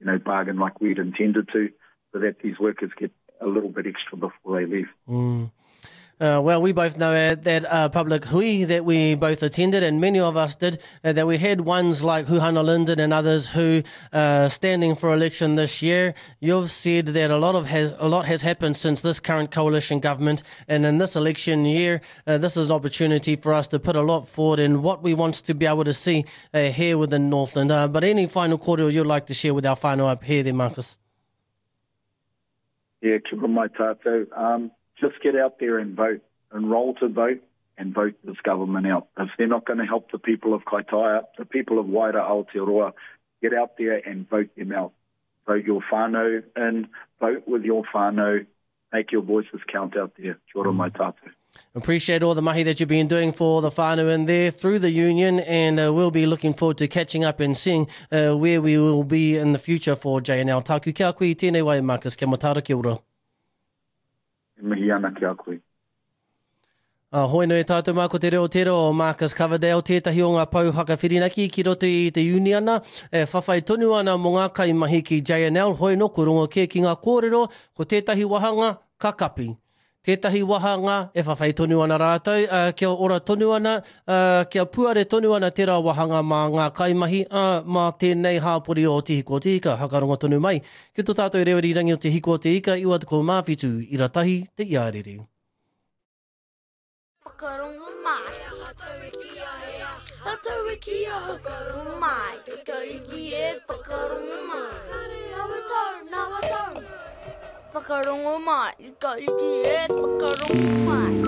you know, bargain like we'd intended to, so that these workers get a little bit extra before they leave. Mm. Uh, well, we both know at that uh, public hui that we both attended, and many of us did, uh, that we had ones like Huhana Lyndon and others who uh, standing for election this year. You've said that a lot of has a lot has happened since this current coalition government, and in this election year, uh, this is an opportunity for us to put a lot forward in what we want to be able to see uh, here within Northland. Uh, but any final kōrero you'd like to share with our whānau up here, there, Marcus? Yeah, kia ora mai tātou. Um, just get out there and vote. Enroll to vote and vote this government out. If they're not going to help the people of Kaitaia, the people of wider Aotearoa, get out there and vote them out. Vote your whānau in, vote with your whānau, make your voices count out there. Kia ora mai tātou. Appreciate all the mahi that you've been doing for the whānau in there through the union, and uh, we'll be looking forward to catching up and seeing uh, where we will be in the future for JNL. Tāku kia koe i tēnei wai, Marcus. Kia matara, kia ora. E mihi ana ki a koe. Uh, hoi nui tātou mā ko te reo tera o Marcus Coverdale tētahi o ngā pou whakawhirinaki ki roto i te uniana e whawhai tonu ana mō ngā kaimahi ki JNL hoi no ko rongo kē ki ngā kōrero ko tētahi wahanga ka kapi. Tētahi wahanga e whawhai tonu ana rātou, ā, kia ora tonu ana, ā, kia puare tonu ana tērā wahanga mā ngā kaimahi, ā, mā tēnei hāpori o Te Hiko o Te Ika, hakarongo tonu mai ki tō tātou reo irirangi o Te Hiko o Te Ika, 97, ira tahi, te iarere. Whakarongo mai. He aha tau e kīia he aha tātou e kīia Whakarongo mai. Te kaiki e whakarongo mai. Nawa tau, nawa tau. Whakarongo mai. Te kaiki e whakarongo mai.